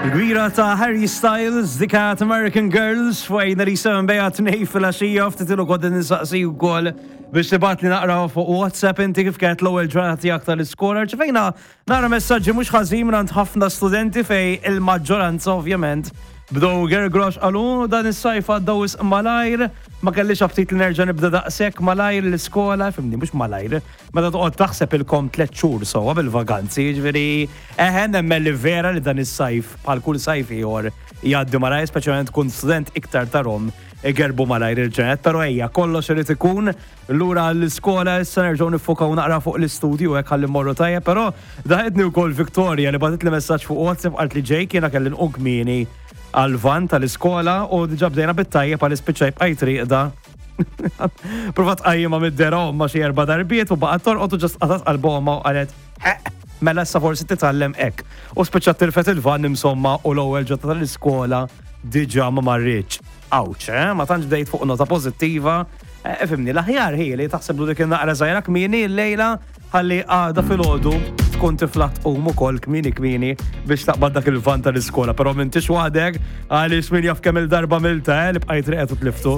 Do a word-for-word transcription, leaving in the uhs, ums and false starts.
Il-gwira ta' Harry Styles, dikat American Girls, fwajna li seven bejja tnej fil-għaxija, ftit ilu kont nistaqsi wkoll biex tibgħatli naqra fuq WhatsApp inti kif kienet l-ewwel ġurnata tiegħek tal-iskola. Rċevejna naqra messaġġi mhux ħażin minn ħafna studenti fejn il-maġġoranza ovvjament bdew gergrox qalu dan is-sajf għadda wisq malajr, ma kellix aptit li nerġa' nibda daqshekk malajr l-iskola, fhimni mhux malajr, meta toqgħod taħseb ilkom tliet xhur sewwa bil-vaganzi, jiġifieri eħe nemmen li vera li dan is-sajf bħal kull sajf ieħor jgħaddi malajr, speċjalment tkun student iktar tarhom igerbu malajr il-ġenet, pero ejja, kollox irid ikun lura l-iskola issa nerġgħu niffokaw naqra fuq l-istudju hekk ħalli mmorru tajjeb, però daħetni wkoll Victoria li bagħtitli messaġġ fuq WhatsApp qalt li Jake jiena kelli nqum kmieni għal-van tal-iskola u diġà bdejna bit-tajjeb għal ispiċċaj bqajt rieqda. Provat qajjima mid-dera ma xi erba' darbiet u baqgħet torqod u just qatat qalbha u qalet mela issa forsi titgħallem hekk. U spiċċat tilfet il-van insomma u l-ewwel ġurnata tal-iskola diġà ma marritx. Awċ, eh? Ma tantx bdejt fuq nota pożittiva. Eh, Fhimni, l-aħjar hi li taħseb dik il-naqra żgħira kmieni l-lejla ħalli għada filgħodu tkun tiflaħ tqum ukoll kmieni kmieni biex taqbad dak il-van tal-iskola. Però m'intix waħdek għaliex min jaf kemm il-darba milta eh, li bqajt rieqed u tliftu.